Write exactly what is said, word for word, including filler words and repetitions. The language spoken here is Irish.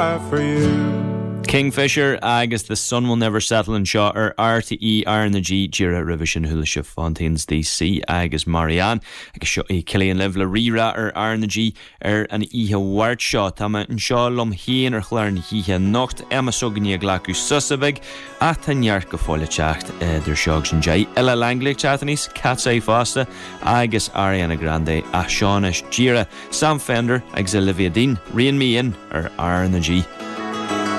For you. Kingfisher agus The Sun Will Never Settle anseo ar R T É R N G. Díreach roimhe sin chuala sibh Fontaines D C agus Marianne, agus seo é Cillian libh le Rí-Rá ar R N G ar an oíche Mháirt seo. Tá mé anseo liom féin ar chlár na hoíche anocht, Emma s'againne ag glacadh sosa beag, ach tá neart go fóill ag teacht idir seo agus an deich. Ella Langley ag teacht aníos, Cat's Eye fosta agus Ariana Grande, ach seo anois díreach Sam Fender agus Olivia Dean, Rein Me In ar R N G.